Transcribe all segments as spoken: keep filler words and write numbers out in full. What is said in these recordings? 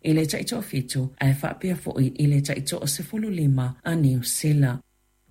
I le taitoafitu ae faapea fo'i i le taitoasefululima a Niu Sila.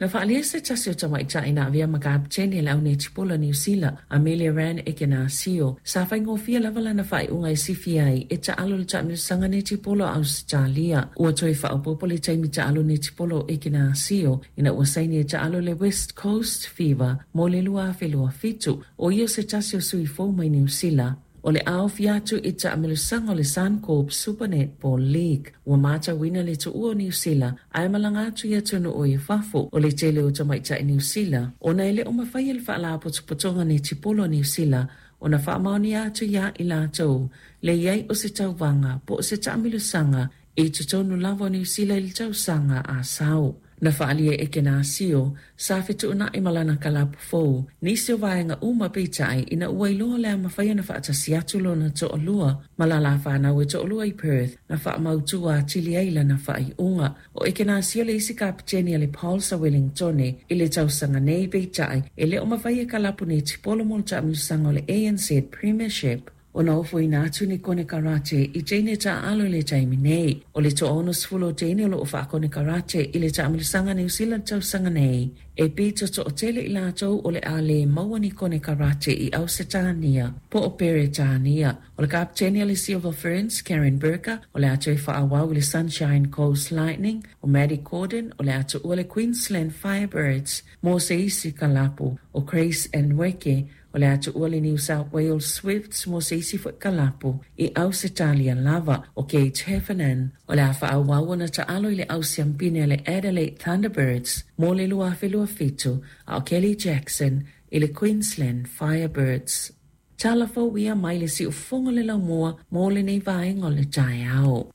Na faaalia se tasi o tamaitai na avea ma kapeteni a le au netipolo a Niu Sila, Amelia Rand Ekenasio, sa faigofie lava lana faaiuga e sifi ai e taalo i le taamilosaga netipolo a Ausetalia. Ua toe faaopoopo le taimi taalo netipolo o Ekenasio ina ua saini e taalo i le West Coast Fever mo le lua afe lua fitu. O ia se tasi o sui fou mai Niu Sila o le a ofi atu i taamilosaga o le Suncorp Super Netball League. Ua matauina le tuua o Niu Sila ae malaga atu i atunuu i fafo o le tele o tamaitai Niu Sila, ona e le o mafai e le Faalapotopotoga Netipolo a Niu Sila ona faamaonia atu iā i latou le i ai o se tauvaga po o se taamilosaga i totonu lava o Niu Sila i le tausaga a sau. Na faaalia e Ekenasio sa fetuunai ma lana kalapu fou nisi o vaega uma, peitai ina ua iloa le a mafai ona faatasi atu lona toalua ma lala fanau e toalua i Perth, na faamautu atili ai lana faaiuga. O Ekenasio le isi kapeteni a le Pulse a Wellingtone i le tausaga nei, peitai e le o mafai e kalapu netipolo mo le taamilosaga o le A N Z Premiership ona ofoina atu ni konekarate i teine taaalo i le taimi nei. O le toaonosefulu o teine o loo faakonekarate i le taamilosaga Niu Sila tausaga nei, e pito toatele i latou o le a le maua ni konekarate i Ausetania po o Peretania. O le kapeteni a le Silver Ferns, Karen Burker, o le a toe faaauau i le Sunshine Coast Lightning. O Maddie Corden o le a tuua le Queensland Firebirds mo se isi kalapu. O Grace Nweke o le a tuua le New South Wales Swifts mo se isi fo'i kalapu i Ausetalia lava. O Kate Heffernan o le a faaauau ona taalo i le au siampine a le Adelaide Thunderbirds mo le lua afe lua fitu, a o Kelly Jackson i le Queensland Firebirds. Tala fou ia mai le siufofoga o le laumua mo lenei vaega o le taeao.